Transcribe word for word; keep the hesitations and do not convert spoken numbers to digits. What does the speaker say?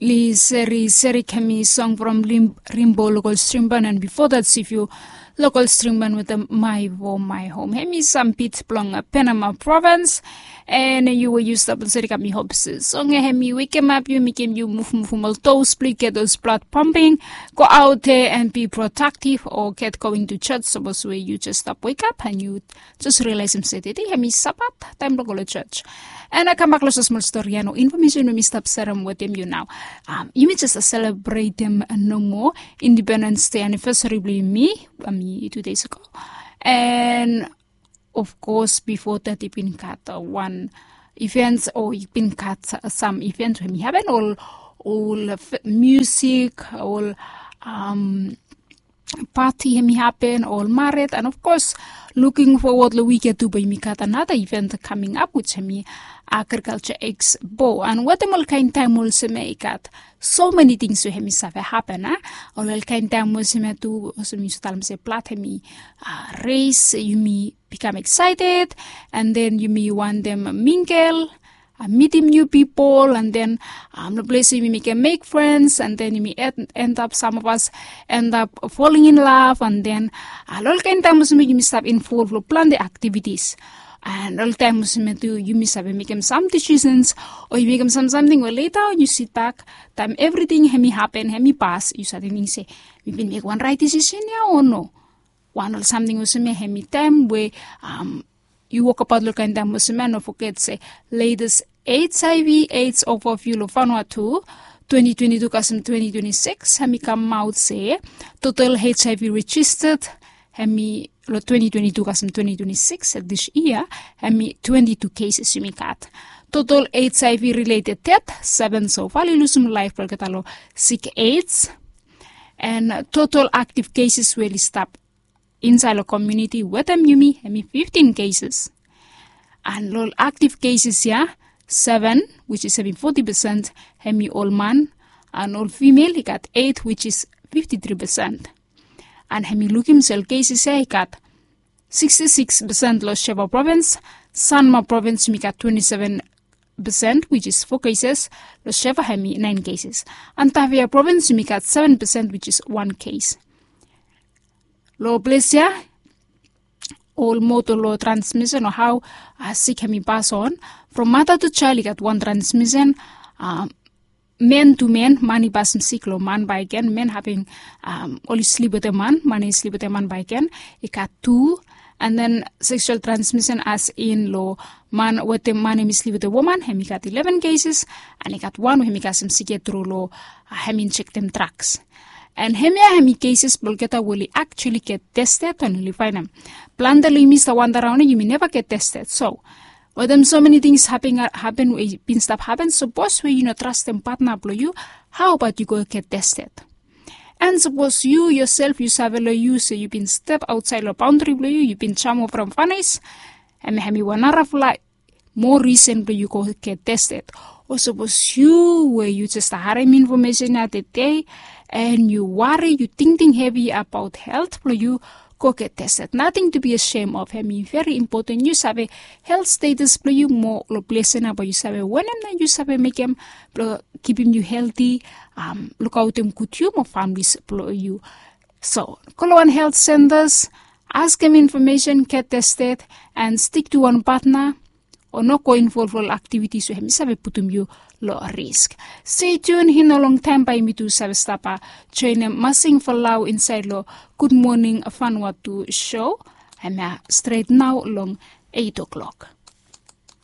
Li seri seri hemi song from Rimbo Local Stream Band, and before that Sifu Local Stream Band with the My Vo My Home. Hemi sam bit blong Penama Province. And yu we yu stap seri kam, mi hope se song hemi wekem ap yu, mekem yu move move ol toes blong yu, get those blood pumping, go out there and be productive or get going to church. Sapos we yu just stap wake up and yu just realizem se tede hemi Sabat, taem blong go long church. And a kambak long smol stori ia, no information we mi stap serem wetem yu nao. Um, yumi just selebretem nomo Independence Day anniversary blong yumi, um, two days ago. And of course, before that, i bin gat uh, one events, o i bin gat uh, some events we hemi happen, ol ol uh, music, ol um, party hemi happen, ol maret, and of course, looking forward long wik ia tu bae yumi gat another event coming up, which hemi Agriculture Expo. And wetem ol kaen taem olsem ia i gat so many things we hemi save happen, a? Ol ol kaen taem olsem ia tu, olsem yu save talem se blad hemi uh, raise, yumi become excited, and then yumi wantem mingle, uh, mitim new people, and then um, long ples yumi mekem make friends, and then yumi end, end up, some of us end up falling in love, and then uh, ol kaen taem olsem ia yumi stap involve long plante activities. And ol taem olsem ia tu yumi save mekem some decisions, o yu mekem some something we later on yu sit back, taem everything hemi happen, hemi pas, yu save tingting se, mi bin mek wan right decision ia o no? Wan ol samting olsem ia hemi taem we um, yu wokbaot long kaen taem olsem ia, no foget se latest HIV AIDS overview long Vanuatu twenty twenty-two kasem twenty twenty-six, hemi kamaot se total HIV registered hemi long twenty twenty-two kasem twenty twenty-six, this year, hemi twenty-two cases yumi gat. Total HIV related death, seven so far, oli lusum laef blong olgeta long sik AIDS. And total active cases we oli stap insaed long community wetem yumi hemi fifteen cases. And ol active cases ia, seven, which is hemi forty percent, hemi ol man, and ol female i gat eight, which is fifty-three percent. And hemi lukim se ol cases ia i gat sixty-six percent long Shefa Province, Sanma Province yumi gat twenty-seven percent, which is four cases, long Shefa hemi nine cases. And Tafea Province yumi gat seven percent, which is one case. Long ples ia, ol moto long transmission o hao uh, sik hemi pass on from mother to child, i gat wan transmission, um, man to man, man i pasem sik long man bakegen, man haping um, oli slip wetem man, man i slip wetem man bakegen, i gat tu. And then sexual transmission, as in long man wetem man hemi slip wetem woman, hemi gat eleven cases, and i gat wan we hemi kasem sik ia tru long uh, hemi injektem drugs. And hemia hemi cases blong olgeta we oli actually get tested and oli faenem. Plante long yumi stap wanda raon ia, yumi neva get tested. So wetem so many things happen, happen we i bin stap happen, sapos we yu no trastem patna blong yu, hao baot yu go get tested? And sapos yu yosef yu save long yu se yu bin step aotsaed long baondri blong yu, yu bin jamo from fanis, hemia hemi wan narafala moa risen blong yu go get tested. O sapos yu we yu jes harem infomesen ia tede, and yu wari, yu tingting hevi abaot helt blong yu, go get tested. Nating to be ashamed of, hemi veri impoten yu save helt status blong yu mo long ples ia nao bae yu save wanem nao yu save mekem blong kipim yu helti, um, lukaotem gud yu mo famili blong yu. So go long wan helt sentas, askem infomesen, get tested, and stik tu wan patna, o no go involv long ol aktivitis we hemi save putum yu long risk. Stay tuned, i no longtaem bae yumi tu save stap joenem Masing Folau insaed long Good Morning Vanuatu show, hemia stret nao long eight o'clock.